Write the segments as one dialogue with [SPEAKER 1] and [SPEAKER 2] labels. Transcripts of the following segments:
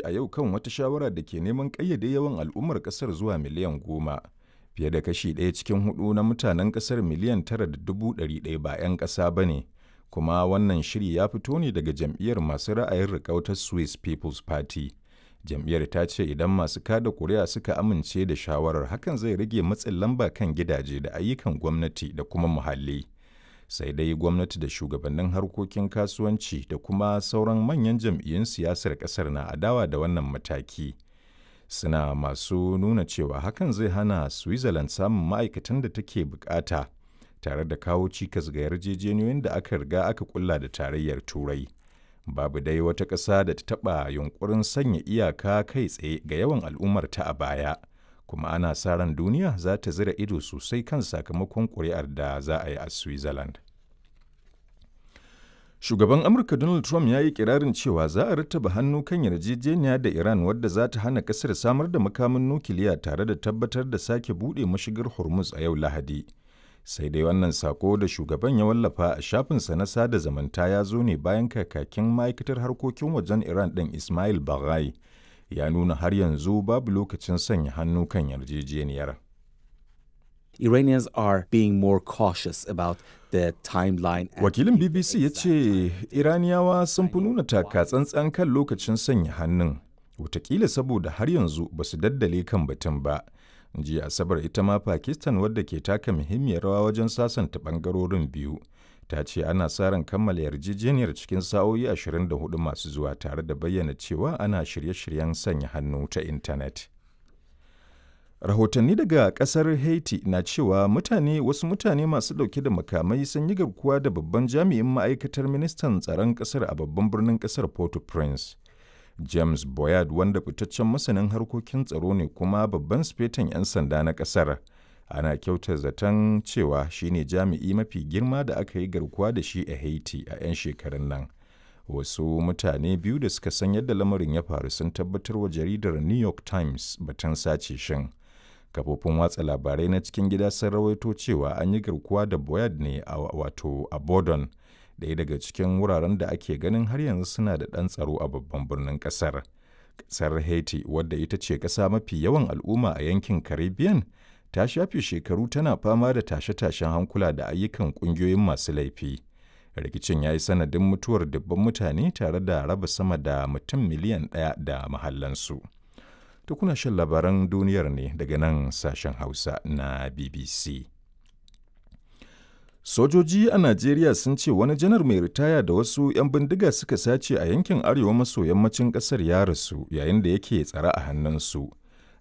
[SPEAKER 1] A yau kan wata shawara da ke neman ƙayyade yawan al'ummar ƙasar zuwa miliyan 10, fiye da kashi ɗaya cikin huɗu na mutanen ƙasar miliyan 9.100 ba 'yan ƙasa ba ne, kuma wannan shiri ya fito ne daga jam'iyyar masu ra'ayin riƙau ta Swiss People's Party. Jam'iyyar ta ce idan masu kada kuri'a suka amince da shawarar, hakan zai rage matsin lamba kan gidaje da ayyukan gwamnati da kuma muhalli. Sai dai gwamnati da shugabannin harkokin kasuwanci da kuma sauran manyan jam'iyyun siyasar ƙasar na adawa da wannan mataki. Suna masu nuna cewa hakan zai hana Switzerland samun ma'aikatan da take bukata tare da kawo cikas ga yarjejeniyoyin da aka riga aka kulla da Tarayyar Turai. Babu dai wata ƙasa da ta taɓa yunƙurin sanya iyaka kai tsaye ga yawan al'ummarta a baya, kuma ana sa ran duniya za ta zira ido sosai kan sakamakon ƙuri'ar da za a yi a Switzerland. Shugaban Amurka Donald Trump ya yi kirarin cewa za a rattaba hannu kan yarjejeniya da Iran wadda za ta hana ƙasar samar da makamin nukiliya tare da tabbatar da sake buɗe mashigar Hormuz a yau Lahadi. Sai dai wannan sako da shugaban ya wallafa a shafinsa na sada zumunta ya zo ne bayan kakakin ma'aikatar harkokin wajen Iran ɗin Ismail Baghai ya nuna har yanzu babu lokacin sanya hannu kan yarjejeniyar.
[SPEAKER 2] Iranians are being more cautious about the timeline.
[SPEAKER 1] Wakilin BBC ya ce Iraniyawa sun fi nuna taka tsantsan kan lokacin sanya hannun, watakila saboda har yanzu ba su daddale kan batun ba. Jiya Asabar ita ma Pakistan, wadda ke taka muhimmiyar rawa wajen sasanta bangarorin biyu, ta ce ana sa ran kammala yarjejeniyar cikin sa'o'i 24 masu zuwa, tare da bayyana cewa ana shirye-shiryen sanya hannu ta intanet. Rahotanni daga kasar Haiti na cewa wasu mutane masu dauke da makamai sun yi garkuwa da babban jami'in ma'aikatar ministan tsaron kasar a babban birnin kasar Port-au-Prince. James Boyard, wanda fitaccen masanin harkokin tsaro ne kuma babban sifetan 'yan sanda na kasar, ana kyautar zaton cewa shine jami'i mafi girma da aka yi garkuwa da shi a Haiti a 'yan shekarun nan. Wasu mutane biyu da suka san yadda lamarin ya faru sun tabbatar wa jaridar New York Times batun sace shin. Kafofin watsa labarai na cikin gida sun rawaito cewa an yi garkuwa da Boyard ne a wato a Bordon, ɗaya daga cikin wuraren da ake ganin har yanzu suna da ɗan tsaro a babban birnin ƙasar. Ƙasar Haiti, wadda ita ce ƙasa mafi yawan al'umma a yankin Caribbean, ta shafe shekaru tana fama da tashe-tashen hankula da ayyukan ƙungiyoyin masu laifi. Rikicin ya yi sanadin mutuwar dubban mutane tare da raba sama da mutum miliyan 1 da mahallansu. To, kuna shan labaran duniyar ne daga nan sashen Hausa na BBC. Sojoji a Najeriya sun ce wani janar mai ritaya da wasu 'yan bindiga suka sace a yankin arewa maso yammacin ƙasar ya rasu yayin da yake tsare a hannunsu.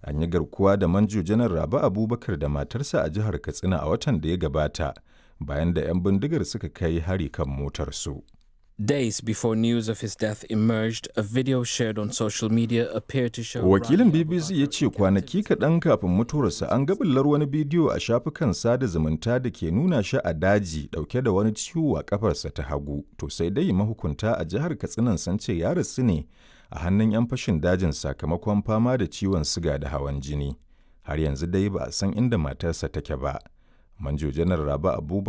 [SPEAKER 1] An yi garkuwa da Manjo Janar Rabe Abubakar da matarsa a jihar Katsina a watan da ya gabata bayan da 'yan bindigar suka kai hari kan motarsu.
[SPEAKER 3] Days before news of his death emerged, a video shared on social media appeared to show
[SPEAKER 1] Wakilin BBC ya ce kwanaki kaɗan kafin mutuwarsa an ga bullar wani bidiyo a shafukan sada zumunta da ke nuna shi a daji ɗauke da wani ciwo a ƙafarsa ta hagu. To sai dai mahukunta a jihar Katsinan sun ce ya rasu ne a hannun 'yan fashin dajin sakamakon fama da ciwon siga da hawan jini. Har yanzu dai ba a san inda matarsa take ba. Manjo Janar Rabe Abubakar